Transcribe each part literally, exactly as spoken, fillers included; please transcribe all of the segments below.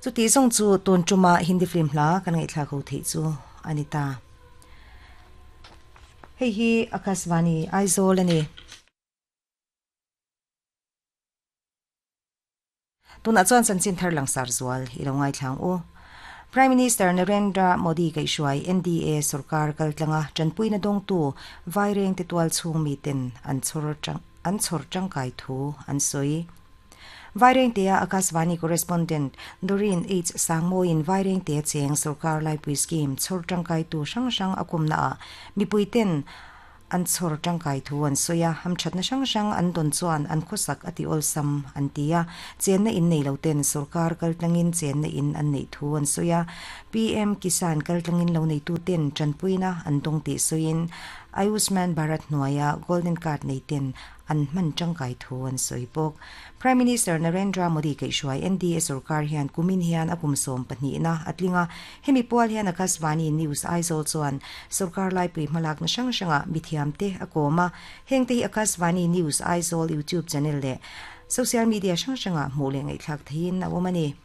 Chu ti zong chu tun tuma Hindi film hla kan ngai thla ko thei chu anita. Hei hi Akashvani Aizawl ani. Tuna chuan chanchin thar langsar zual ilo ngai thlang u. Prime Minister Narendra Modi kai shuai N D A sarkar kaltlanga chanpuina dong tu vaireng te tual chung mi ten an chor chang an chor tangkai thu an soi. Vaireng te Akashvani correspondent Doreen H Sangmoin vaireng te cheng sarkar lai pui scheme chor tangkai tu sang sang akum na mi puiten an chor tangkai thu an soya ham thatna sang sang an don chuan an khosak ati ol sam an tia chen na in nei lo ten sarkar kaltlangin chen na in an nei thu an soya P M Kisan kaltlangin lo nei tu ten chanpuina an dong ti soin Ayushman Bharat Noya Golden Card nei ten an man tangkai thu an soibok. Prime Minister Narendra Modi kai shuai N D A sarkar hian kumin hian akum som pahnih na atlinga hemi pual hian Akashvani News Aizawl chuan sarkar lai pui hmalak na sang sanga mithiam te akoma hengte hi Akashvani News Aizawl YouTube channel le social media sang sanga hmu le ngai thlak thein a awmani.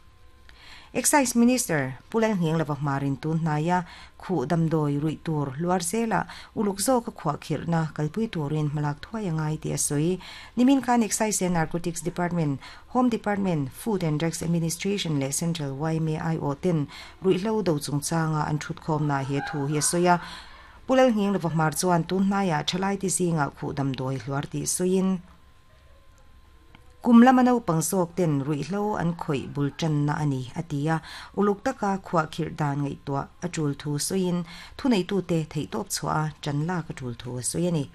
Excise Minister Pulal Ngeng Lava Marin tun naya khu damdoi rui tur luar zela uluk zo ka khwa khirna kalpui turin malak thuai angai ti asoi nimin khan Excise and Narcotics Department, Home Department, Food and Drugs Administration le Central Y M I O ten rui hlo do chungchanga an thut khom na he thu hi soya Pulal Ngeng Lava Mar chuan tun naya thalai ti zinga khu damdoi hluar ti soin kumlama no pangsok ten rui hlo an khoi bulchan na ani atia uluk taka khwa khir dan ngai to achul thu soin thunei tu te thei top chua chanla ka thul thu soyani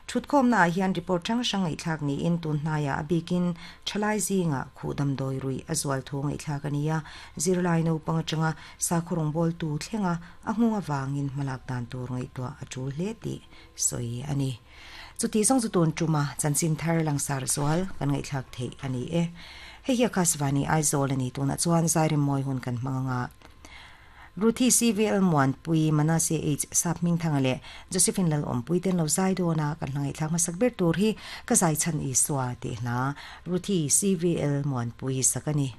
thutkhom na hian report chang sang ngai thlak ni in tun hnaya abikin thalai zinga khudam doi rui azwal thu ngai thlak ania zirlai no pangchanga sakhurong bol tu thlenga ahunga wangin malak dan tur ngai to achul hle ti soi ani. Chu ti zong chu tun tuma chanchin thar langsar zual kan ngai thlak thei ani e. Hei hi Akashvani Aizawl ani tuna chuan zairim moi hun kan hmanga Ruthi C V L Muan Pui Manase H Sap Ming Thangale Josephine Lal Om Pui ten lo zai do na kan hlangai thlak masak ber tur hi ka zai chan i swa ti hla Ruthi C V L Muan Pui sakani.